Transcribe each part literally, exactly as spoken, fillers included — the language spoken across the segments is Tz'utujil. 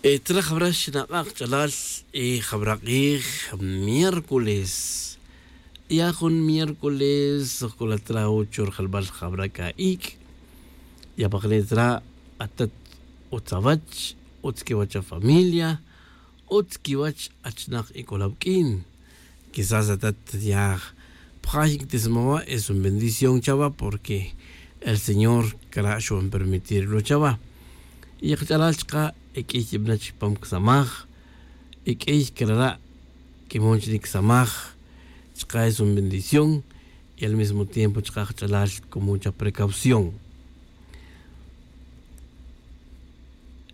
Tzra jabra xnak'a' kach'alal, jabra k'ij miércoles. Ya jun miércoles jk'ulat ra uch ru jelbal jabra k'a ik'. Ya paqli' tzra atat, utz awach, utz kiwach afamilia, utz kiwach achnak ik'ol awuk'in. Quizás atat ya pjay quitismawa, es un bendición chawa porque el señor cara' xwan permitir lo chawa. Y kach'alal chaka' ek'ey ibana' chipam kisamaj, ek'ey carara' quimon chini' kisamaj. Chaka' es un bendición y al mismo tiempo chaka' kach'alal con mucha precaución.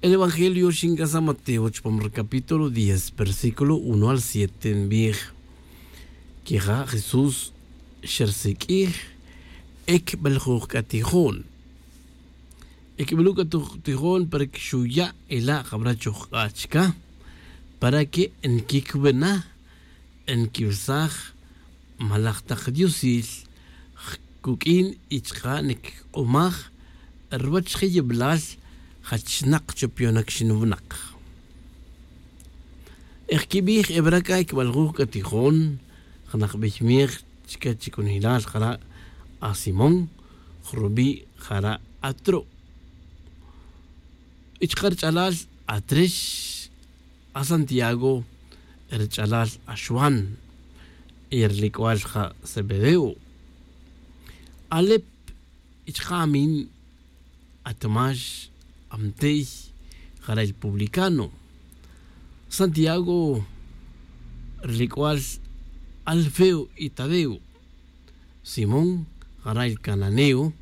El evangelio xinca san mateo chupam ri capítulo diez versículo uno al siete nbij. Quija' jesús xersiq'uij, ecbeljuj c'a tijon. Ecbeljuj c'a tijon para que xuya' ela' jabra chujk'a' chica para que nquicubena, nquiwesaj malaj tak diosil cuq'uin y chaka' nquik'omaj ruwach je' yibilal jachnak chopionak xinwinak. Ejquibij ebra c'a ecbaljuj c'a tijon janak bey miej chique chicunejilal jara' asimón, jrubi' jara' atro'. Y chaka' rich'alal atrix, asantiago, rich'alal axwan, y rilic'ual ja' zebedeo. Alep y chaka' amin, atmax, amtey, jara' el publicano. Santiago, rilic'ual alfeo y tadeo. Simón, jara' el cananeo.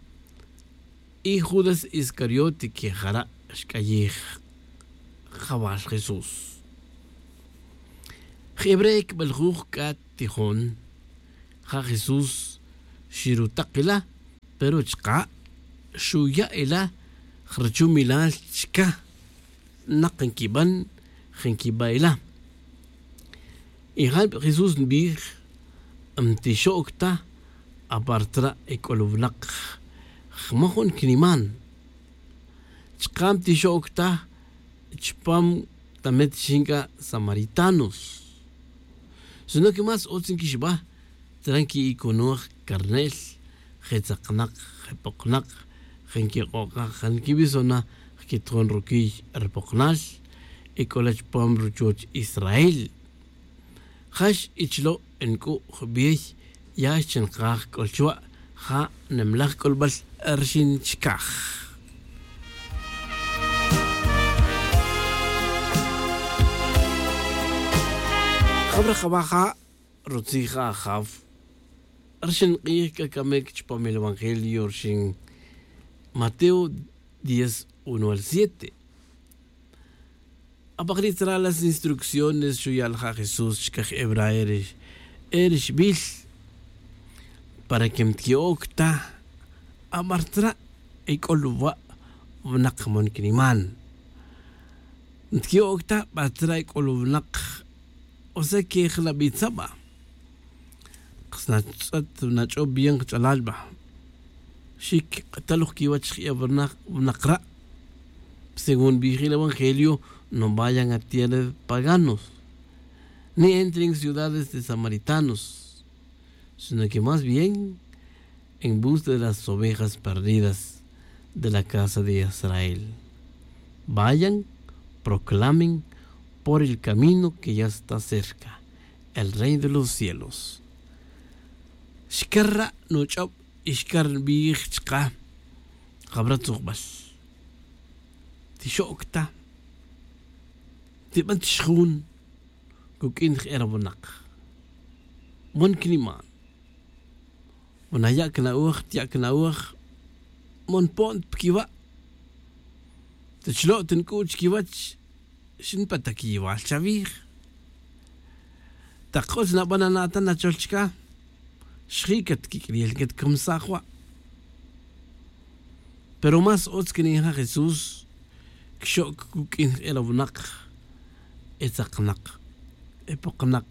Y judas iscariote que jara' xc'ayij jawal jesús. Jebre' cbeljuj c'a tijon, ja' jesús xirutak ila, pero chaka' xuya' ila jruchumilal chica. Nak nquiban, je' nquiba' ila. Y ja' jesús nbij, mtixo'c ta apar tzra' ec'ol winak, jmajun quiniman. Chaka' mtixo'c ta chupam tamet xinca samaritanos. Sino que más utz nquixba tzra' nqui'iconoj carnel, je' tzaknak, je' poknak, je' nquik'okaj, je' nquibiso na jquitojon ruquiy ri poknal. Ec'ola chupam ruchuoch israel. Jax ichlo' nc'u' jbiey, ya xchinkaj c'ol chuwa', ja' nimlaj c'olbal rxin chicaj. Jabra jaba' ja' rutzij ja' ajaf. Rxin k'ij c'a camic chupam el evangelio rxin mateo diez uno al siete. Apakri' tzara' las instrucciones xuya' la ja' jesús chicaj ebra erixbil, para que mtqui'oc ta abar tzara' ec'ol wa' winak mon quiniman. Mtqui'oc ta bar tzara' ec'ol winak, o sea que jnabi tzaba'. Kas natz'et nach'ob bien kach'alal ba. Xic k'atal oj quiwach jk'e' winak ra'. Según bijil evangelio, no vayan a tierra de paganos, ni entren ciudades de samaritanos, sino que más bien en busca de las ovejas perdidas de la casa de israel. Vayan, proclamen por el camino que ya está cerca el rey de los cielos. Xcar ra' nuch'ob y xcar nbij chka jabra tzujbal. Tixo'c ta, tiban tixjun cuq'uin je' ra winak. Mon quiniman, mon aya' cna'oj tya' cna'oj, mon po'n ta piquiwa'. Tchlo' ta nc'u' chiquiwach, xinpet ta quiyiwal chavij. Tak k'o chnaban ana'tan achol chca, xji' catquiq'uiel catcamsaj wa'. Pero más utz quinija' jesús, quixo'c cuq'uin je' ra winak, e tzaknak, e poknak,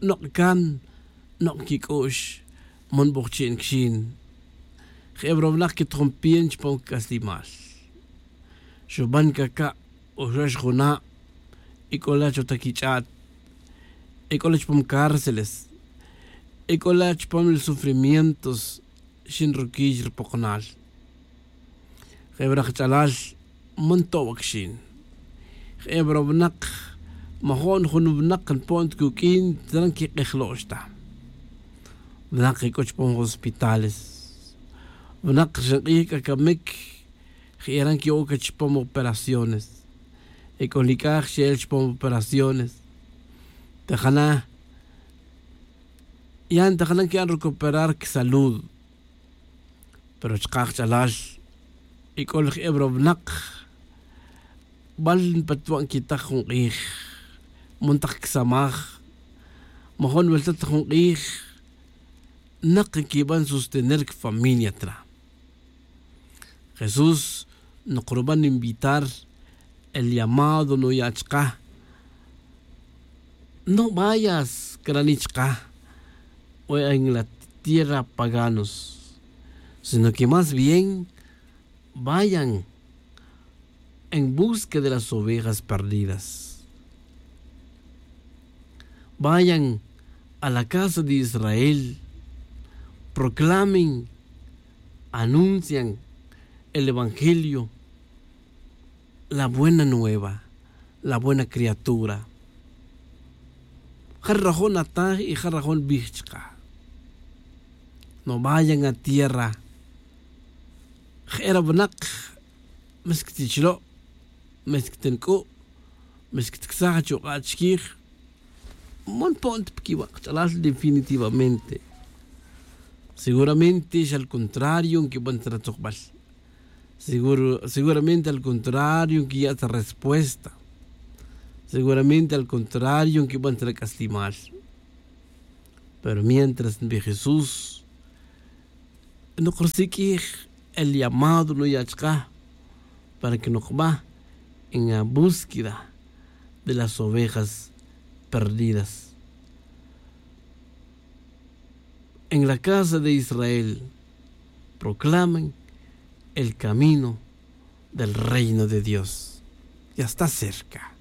nok' can, nok' quic'u'x, mon bojchi' nquixin. Je' ra winak quitojon pien chupam cac'aslimal. Xuban caca', Oxox juna' ec'ola' chotaquich'a't, ec'ola' chupam cárceles, ec'ola' chupam li sufrimientos. Xinruquiy ripokonal. Je'ebra' kach'alal man to'bac xin. Je'ebra' winak majo'n jun winak npo'n ta cuq'uin tzran quik'ejlo'x ta. Winak ec'o chupam hospitales, winak rixin k'ij c'a camic. Je'era' nqui'oc chupam operaciones. Ec'o li c'aj xe'el chupam operaciones. Tajana' yan tajana' nqui'an recuperar quisalud. Pero chaka' kach'alal ec'o laj ebra winak bal npatwa' nquitaj jun k'ij, man tak quisamaj, majo'n welta ta jun k'ij. Nak nquiban sostener quifamilia tra. Jesús, nokruban invitar el llamado nuya' chaka. No vayas crani' chaka, o en la tierra paganos, sino que más bien vayan en busca de las ovejas perdidas. Vayan a la casa de Israel, proclamen, anuncian el evangelio, la buena nueva, la buena criatura. Ja rajon ataj y ja rajon bij chaka. No vayan a tierra. Je'era winak, mas quitichlo', mas quitinc'u', mas quitcasaj achuk'a' chiquij. Man po'n ta piquiwa' kach'alal definitivamente. Seguramente xa al contrario nquiban ta ratzukbal. Seguramente al contrario nquiya' ta respuesta. Seguramente al contrario nquiban ta rac'aslimal. Pero mientras nbij jesús, nokrusiq'uij el llamado nuya' chaka para que nokba en la búsqueda de las ovejas perdidas. En la casa de israel proclamen el camino del reino de dios. Ya está cerca.